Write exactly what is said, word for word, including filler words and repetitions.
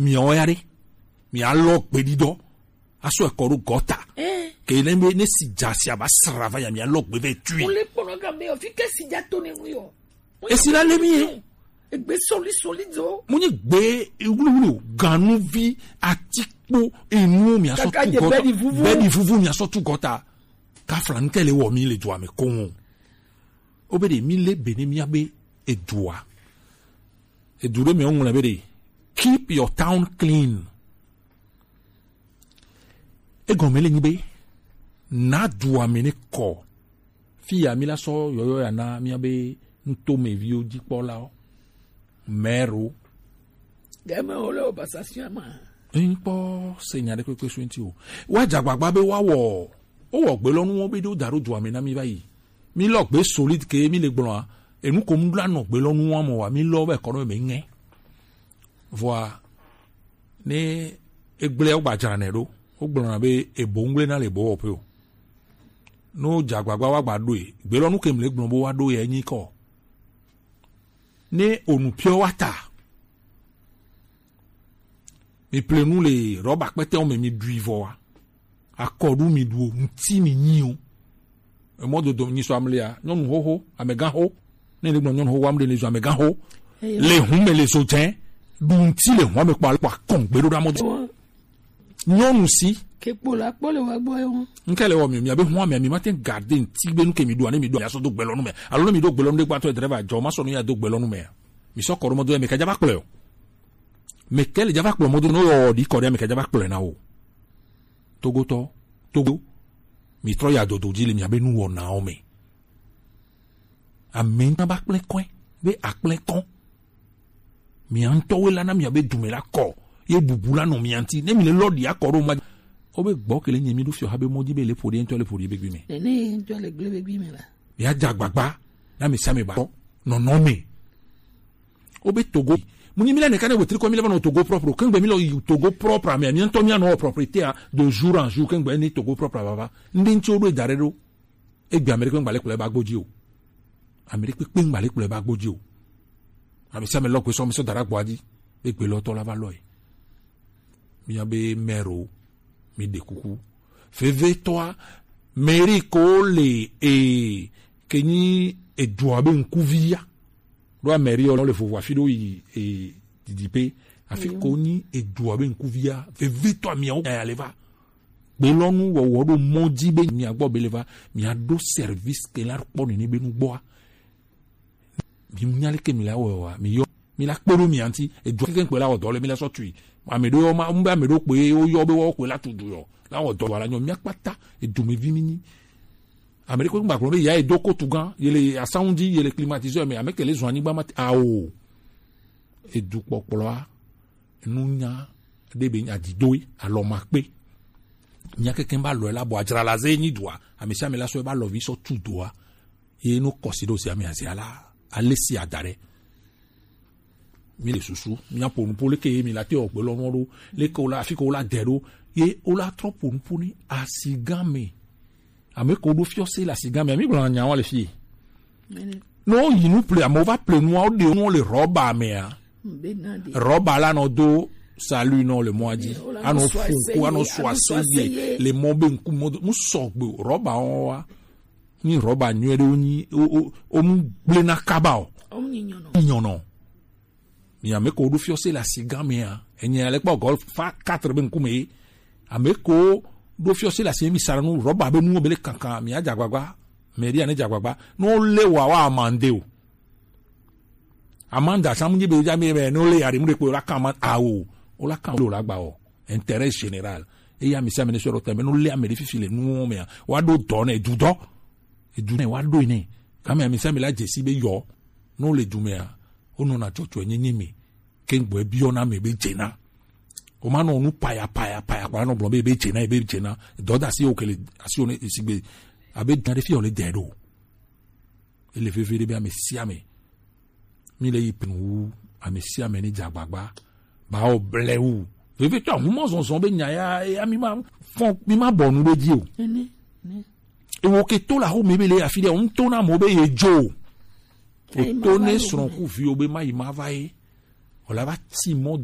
Miawo ya ɖe, mialɔ gbeɖiɖɔ asɔ ekɔ ɖo gɔta. Ke ne be ne si dza si aba sra va ya, mialɔ gbe vɛ tui. Wole kpɔnɔ ga be o fi ke si dza to ne ŋu yɔ. Esi la le mi ye. Egbe soli soli do. Mo nye gbe wluwlu o, ganuvi, atikpo, enuwo miasɔ tu gɔta. Bɛɖi vuvu miasɔ tu gɔta. Kafla ŋkɛ le wɔ mi le dua me koŋ. O be ɖe mi le be ne mia be edua. Edu ɖe mi ŋlɔ be ɖe, keep your town clean. Egɔme le nyi be, na dua me ne kɔ. Fi ya mi la sɔ yɔyɔ ya na mia be ŋutome viwo dzikpɔlawo, mɛro. Game wo le obasasiã ma. Ŋkpɔ se nya ɖe kpekpe su ŋuti o. Wa dza agbagba be wa wɔ, wo wɔ gbe lɔ nu wo be ɖo da ɖo dua me na mi va yi. Mi lɔ gbe solide ke mi le gblɔa. Enu ko mu ɖo anɔ gbe lɔ nu wa mɔ wa mi lɔ be kɔ ɖo me ŋɛ. Vɔa ne egblẽ wo gba dzra nɛ ɖo, wo gblɔna be ebo ŋgble na le bo wɔƒe o. Ne wodze agbagba woagba ɖoe, gbe lɔ nu ke mle gblɔ be woaɖo yɛ nyi kɔ. Ne onu piɔ wa ta, mi ple nu le rɔba kpɛtɛwo me mi ɖui vɔ wa. Akɔɖu mi ɖu o, ŋti mi nyi o. Emɔ dodo nyi sɔ amlia, nyɔnu xoxo, amegã xo. Ne le gblɔ nyɔnu xoxo, amɖe le zo amegã xo. Le hun me le zo dze, ɖu ŋti le hun me kpɔ ale kpɔ akɔn gbe ɖo ɖa mɔ do. Nyɔnu si. Ke kpo la kpɔ le wa gbɔ yo. Ŋke le wɔ mi, mi abe hun mi, mi ma te garde ŋti be nu ke mi ɖu, ne mi ɖu, ya sɔ do gbe lɔ nu me. Alo ne mi ɖo gbe lɔ nu de gbatɔ driver jɔ, ma sɔ nu ya do gbe lɔ nu me. Mi sɔ kɔ ɖo mɔ do ya, mi ka dza va kplɔe o. Mi ke le dza va kplɔ mɔ do no yɔ ɖi kɔ ɖe, mi ka dza va kplɔe na o. Togotɔ, Togo, mi trɔ ya dodo dzi le miabe nuwɔnawo me. Ame ŋutɔ ba kple kɔe be akple kɔ. Mia ŋutɔwoe la na miabe dume la kɔ ye bubu la nɔ mia ŋuti. Ne mi le lɔ ɖi akɔ ɖo ma, wo be gbɔ kele nye mi ɖo fiɔ ha be mɔ dzi be le ƒo ɖi ŋutɔ le ƒo ɖi be gbi me. Nene ŋutɔ le gble be gbi me la. Mia dza agbagba na mi sia mi ba kɔ nɔnɔ me. Wo be Togo. Mu nyi mi la neka ne wetri kɔ mi la va nɔ Togo propre. Kengbe mi lɔ yi Togo propre me. Mi ŋutɔ mi anɔ propriété a de jour en jour. Kengbe ni Togo propre va va. Ndi ŋutsi wo ɖo da ɖe ɖo. Egbe Amérique ŋgba le kplɔe ba gbodzi o. Amérique kpekpe ŋgba le kplɔe ba gbodzi o. Ame sia ame lɔ gbe sɔ mi sɔ da ɖe agboa dzi. Egbe lɔ tɔ la va lɔe. Mia be mɛro, mi ɖe kuku. Vevetɔa, mɛri ko le e ke nyi edua be ŋkuvi ya. Ɖo amɛri ɔ le vovo afi ɖo yi e didi pe. Afi ko nyi edua be ŋkuvi ya. Vevetɔa miawo ya le va. Gbe lɔ nu wɔwɔ ɖo mɔ dzi be mia gbɔ be le va. Mia ɖo service ke la kpɔ nene be nu gbɔa. Mi nya leke mi la wɔ wa, mi yɔ, mi la kpe ɖo mia ŋuti, edu keke ŋkpe la wɔ dɔ le mi la sɔ tui. Ame ɖewo yɔ ma, ŋbe ame ɖewo kpe ye wo yɔ be wo kpe la tu du yɔ, la wɔ dɔ wa la nyɔ, mia kpata, edu mi vi mi nyi. Ame ɖe kpe ŋgba gblɔ be ya edo kotu gã, ye le asanwu dzi, ye le climatiseur me, ame ke le zɔn anyigba ma te, ao. Edu kpɔkplɔa, nunya ɖe be nya didoe, alɔ ma kpe. Mia keke ba lɔe la bɔ adzra la ze nyi dua, ame sia ame la sɔ ba lɔ vi sɔ tu dua. Ye no kɔsi ɖo sia mi azia la ale si ada ɖe. Mi le susu mia ƒo nuƒo leke ye mi la te ɔgbe lɔ nɔ ɖo leke wo la afi ke wo la de ɖo ye wo la trɔ ƒo nuƒo ni asigã me. Ame ko ɖo fiɔ se le asigã me mi gblɔ nya wa le fi. No yi nu ple ame va ple nua wo de nua le rɔba mea. Rɔba la nɔ do salu nɔ le mɔa dzi anɔ fun ko anɔ sɔ ase ye le mɔ be ŋku mɔ do mu sɔgbe o rɔba wɔn wa. Nyi rɔba nyuie ɖe wonyi wo mu gblẽ na kaba o. Nyɔnɔ mi ame ko ɖo fiɔ se le asigã mea enye ale kpɔ gɔl fa quatre be ŋkume ye ame ko ɖo fiɔ se le asi mi sara nu rɔba be nuwo be le kankan mi adze agbagba mɛ ɖi ane dze agbagba ne wo le wa wa amande o. Amanda samu nyi be ja mi be no le yari mu de kpe la kan man awo o la kan lo la gba o intérêt général. Eya mi sa mi ne soro tembe no le ame de fifi le nu me wa do do ne du do e du ne wa do ne ka me mi sa mi la jesi be yo no le du me a o no na chocho nyi nyi mi ke ngbo e bi o na me be jena o ma no nu paya paya paya kwa no blo be be jena e be jena do da si o kele asi o ne sigbe abe dan de fi o le de do. Ele veve ɖe be ame sia ame mi le yi pnu wu ame sia ame ni dze agbagba ba o ble wu veve tɔ ahumɔ zɔzɔ be nya ya ya mi ma fɔ mi ma bɔ nu ɖe dzi o. Ewo ke to la ho me be le afi ɖe o ŋutɔ na mo be ye dzo o to ne srɔ̃ ku viwo be ma yi ma va ye o la va ti mɔ